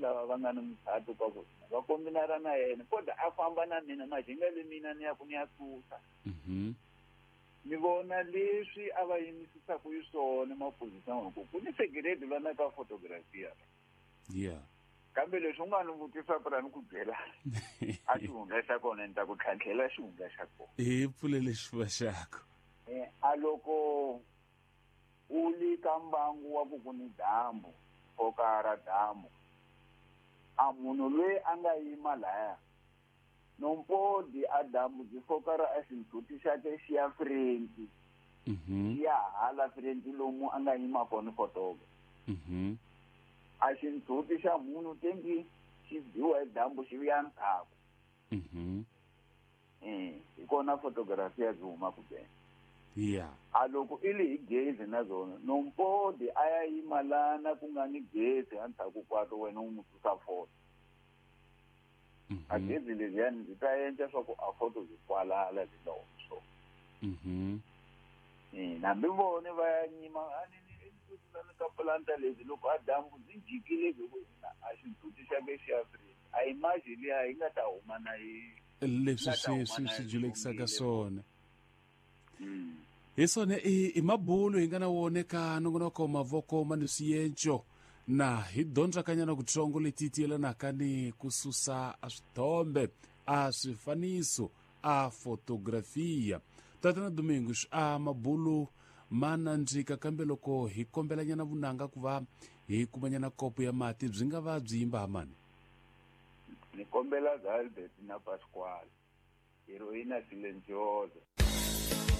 lava va nga ni muchato ka ku va kombinara na yena kodwa a famba na mina majinga le mina ni ya ku ni ya susa. Ni vona leswi a va yimisisaka yi swona maphorisa ku ku ni security lwana ka photography. Kambe leswi u nga ni vutisa pura ni ku byela a xihundla xa kona ni ta ku tlhantlhela xihundla xa kona. Hi pfulele xifuva xakho. A loko u li ka mbangu wa ku ku ni dyambu foka ra dyambu a munhu loyi a nga yima laya nompodi a dyambu byi foka ra a xindzhuti xa ke xi ya french. Xi ya hala french lomu a nga yima kona fotoka. A xindzhuti xa munhu tengi xi biwa hi dyambu xi vuya ndzhaku. Hi kona photography ya byi humaka bene. A loko i li hi gezi na zona nompodi a ya yima lana ku nga ni gezi endzhaku kwato wena u n'wi susa foto. A gezi leriyani byi ta endla swa ku a foto byi kwalala byi nga humi swona. Hambi vone va ya nyima a ni ni ni ka planta lebyi loko a dyambu byi jikile byi ku a xindzhuti xa ke xi ya free a image liya yi nga ta huma na yi leswi swi swi julekisaka swona. Hi swona i mabulo hi nga na wona ka nongonoko mavoko ma ni swienco na hi dyondzakanyana kutsongo leti ti yelanaka ni ku susa a swithombe a swifaniso a fotografia. Tatana Domingos a mabulo ma nandzika kambe loko hi kombelanyana vunanga ku va hi kumanyana kopo ya mati byi nga va byi yimba mani. Ni kombela Albert na Pasquale. Heroína silenciosa.